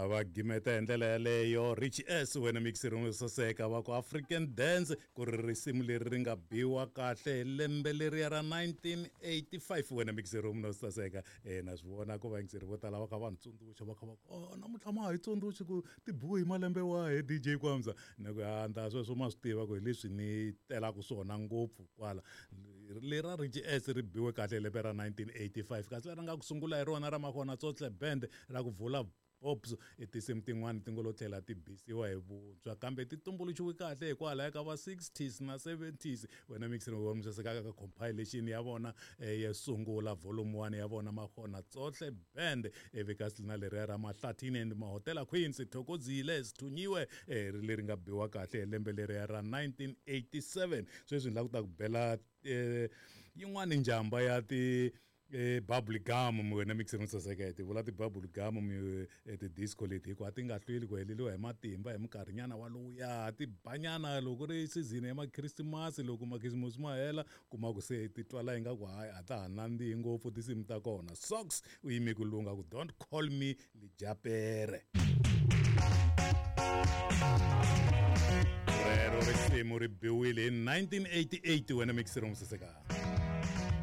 Va gimeta hi ndlela yaleyo Rich S wena mixer yo saseka va ku African Dance ku ri risimu leri ri nga biwa kahle hi lembe leriya ra 1985 wena mixer no saseka. Na swi vona ku vayingiseri vo tala va kha va ni tsundzuxa va kha va ku oh namuntlha ma ha yi tsundzuxi ku ti biwe hi malembe wahi DJ Kwamza. Ni ku ha sweswo ma swi tiva ku hi leswi ni telaka swona ngopfu kwala. Lera Rich S ri biwe kahle hi lembe ra 1985 kasi leri nga ku sungula hi rona ra Makgona Tsohle Band ra ku vula Pops i tinsimu tin'wani ti ngo lo tlhela ti bisiwa hi vuntshwa kambe ti tumbuluxiwe kahle hikwalaho ka va 60s na 70s wena mixer wa musaseka ka compilation ya vona yo sungula volume 1 ya vona Makgona Tsohle Band ivi kasi na leriya ra Mahlathini and Mahotela Queens Thokozile Sithunyiwe ri leri nga biwa kahle hi lembe leriya ra 1987. Sweswi ni lava ku ta ku bela yin'wani njhamba ya ti bubble gum wena mixer no saseka ti vula ti bubble gum ti-disco leti hikuva ti nga hlweli ku heleriwa hi matimba hi minkarhinyana walowuya ti banyana loko ri season ya makhrisimasi loko makhisimusi ma hela kuma ku se ti twala ingaku hayi a ta ha nandzihi ngopfu tinsimu ta kona. Socks u yime ku lunga ku don't call me lijapere. Rero risimu ri biwile hi 1988 wena mixer musaseka.